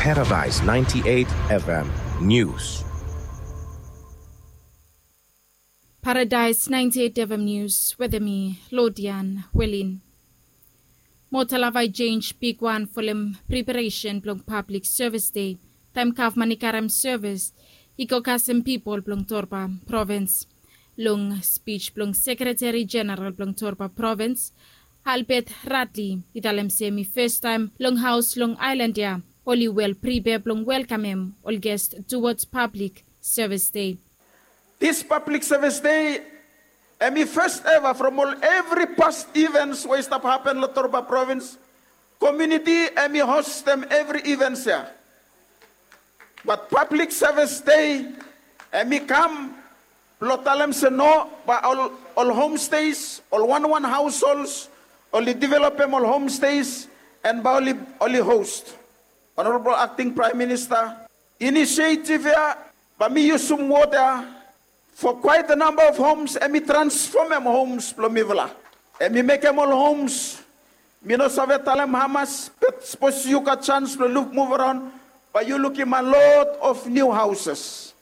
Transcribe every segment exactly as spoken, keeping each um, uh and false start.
Paradise ninety-eight F M News. Paradise ninety-eight F M News wetem mi, Lodian Welin. Motalava i jenj bigwan folem preparesen blong Pablik Sevis Dei, taem gavman i karem sevis i go kasem pipol blong Torba provins. Long spij blong Sekreteri Jeneral blong Torba provins, Albert Radley, i talem se hemi fastaem long haos long aelan ya oli wel pripea blong welkamem ol ges tuwods Pablik Sevis Dei. Dis Pablik Sevis Dei hemi fas eva from ol evri pas ivens we i stap hapen long Torba provins. Komuniti hemi hostem evri ivens ya. Bat Pablik Sevis Dei hemi kam blong talem se no, bae ol, ol homstes, ol wanwan haoshols, oli developem ol homstes, en bae oli, oli host. Honorabol Akting Praem Minista, inisietiv ya bae mi yusum wod ya, for quite a number of homes, hemi transfomem homes blong mifala. Hemi mekem ol homes, mi no save talem hamas, bat sapos yu gat jans blong luk, muv araon, bae yu lukim a lot of new houses.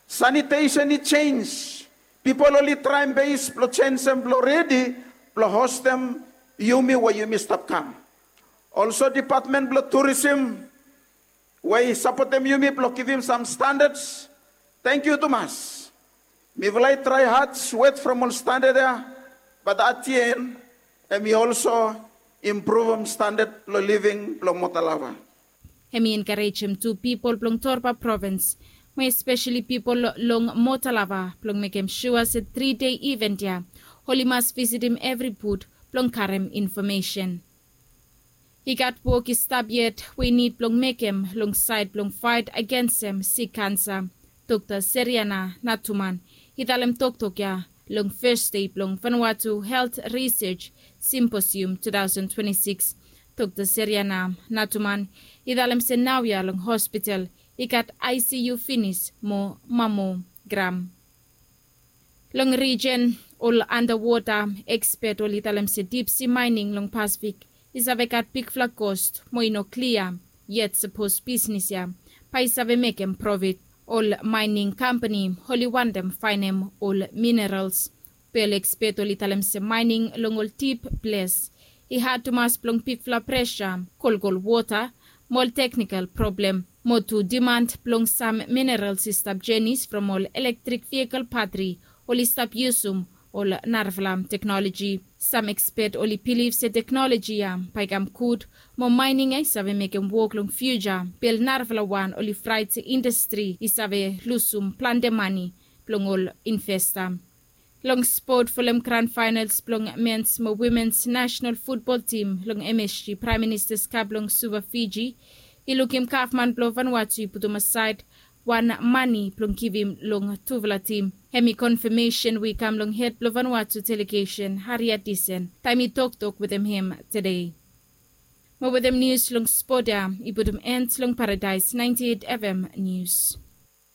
Sanitesen i jenj. Pipol oli traem bes blong jenjem blong redi blong hostem yumi we yumi stap kam. Also, dipatmen blong turisem we i sapotem yumi blong givim sam standads, tangkiu tumas. Mifala i trae had, swet from ol standad ya, bat at the end hemi also impruvum standad blong living blong Motalava. Hemi enkarejem tu pipol blong Torba provins, mo espeseli pipol long Motalava, blong mekem sua se tri dei iven ya oli mas visitim evri but blong karem infomesen. I gat wok i stap yet we i nid blong mekem long saed blong faet agensem sik kansa. Dokta Seriana Natuman i talem toktok ya long fes dei blong Vanuatu Helt Risej Simposium two thousand twenty-six. Dokta Seriana Natuman i talem se naoia long hospital i gat I C U finis mo mamogram. Long rijen, ol andawota ekspet oli talem se dipsi maening long Pasifik i save gat bigfala kos mo i no klia yet sapos bisnis ya bae i save mekem profit. Ol maening kampani oli wantem faenem ol minerals. Be ol ekspet oli talem se maening long ol dip ples i had tumas blong bigfala presa, kolkol wota, mo ol teknikal problem, mo tu diman blong sam minerals i stap jenis from ol elektrik vehikel batri oli stap yusum ol narafala teknoloji. Sam ekspet oli bilif se teknoloji ya bae i kam gud mo maening ya i save mekem wok long fiuja, be ol narafala wan oli fraet se indastri i save lusum plante mane blong ol investa. Long spot folem gran faenals blong mens mo wimens nasenal futbol tim long M S G Praem Ministas Kap long Suva Fiji i lukim gavman blong Vanuatu i putum asaed wan mane blong givim long tufala tim. Hemi konfamesen we i kam long hed blong Vanuatu delegesen Harriet Thyssen taem i toktok wetem hem tede. Mo wetem nius long spot ya i putum end long Paradaes ninety-eight F M Nius.